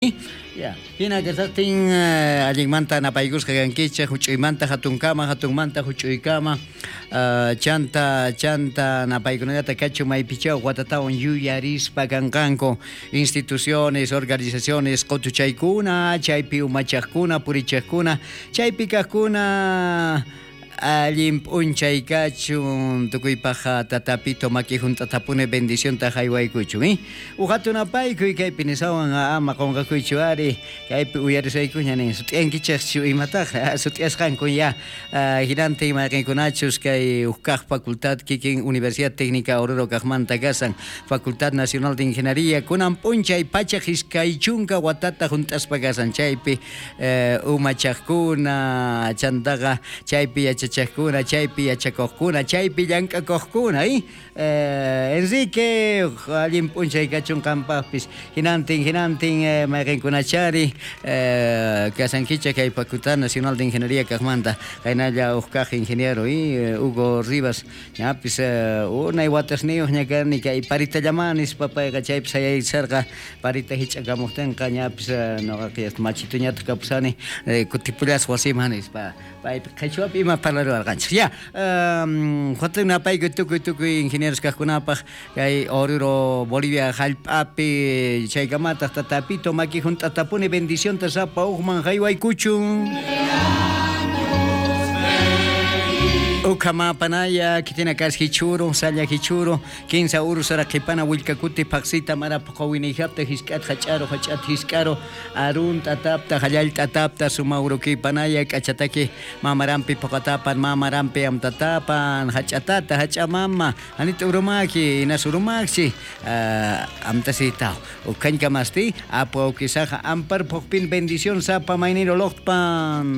Ya, hina kashajtin allinmanta napaykusqa kankichej, juch'uymanta jatunkama, jatunmanta juch'uykama, chanta chanta napaykunallata kachun maypichaw watatawan yuyarispa kanqanku instituciones, organizaciones, qotuchaykuna, chaypi umachajkuna, purichajkuna, chaypi kajkuna. Allin p'unchay kachun, tukuypaj Tatapito maki junt'atapuni bendicionta jaywaykuchun, eh? Uj jatun apaykuy kaypi nisawan ama qonqakuychu ari, kaypi uyarisaykuña nin, sut'iyankichejchu imataj, sut'iyasqanku ya, jinantin mayqenkunachus kay uj kaj facultad kikin Universidad Técnica Oruro kajmanta kasan, Facultad Nacional de Ingeniería, kunan p'unchay pachaj 20 watata junt'aspa kasan, chaypi umachajkuna, chantaqa chaypi yachachajkuna, chaypi yachakojkuna, chaypi llank'akojkuna, eh? Enrique, allin p'unchay kachun qanpajpis, jinantin, jinantin mayqenkunachari kasankichej kay Facultad Nacional de Ingeniería kajmanta, qaynalla uj kaj ingeniero, Hugo Rivas, ñapis unay watasniyuq ña kani kay paritallama nispa payqa chaypi sayaycharqa, parita hich'akamojtinqa ñapis noqaqa machituñataq kapusani, kutipullasqa wasiman nispa, paypi qhichwapi ima parlaruwarqanchej. Ya, jatun napaykuy tukuy tukuy ingenieros kajkunapaj kay Oruro Bolivia jallp'api chaykamataq Tatapito maki junt'atapuni bendicionta sapa ujman jaywaykuchun. Ukha mapanaya, kitina kas hichuru, salla hichuru, kinsa uru sara qhipana willkakuti phaqsita mara qawinijapta hisk'at hach'aru hach'at hisk'aru, arun t'atapta hallal t'atapta sumaurukipanaya k'achataki mamarampi puqatapan mamarampi amtatapan hach'atata hach'amama anita urumaki inas urumakchi amtasitaw ukhañkamasti apu awkisaja ampar phuqpin bendición sapa mayniro loqpan.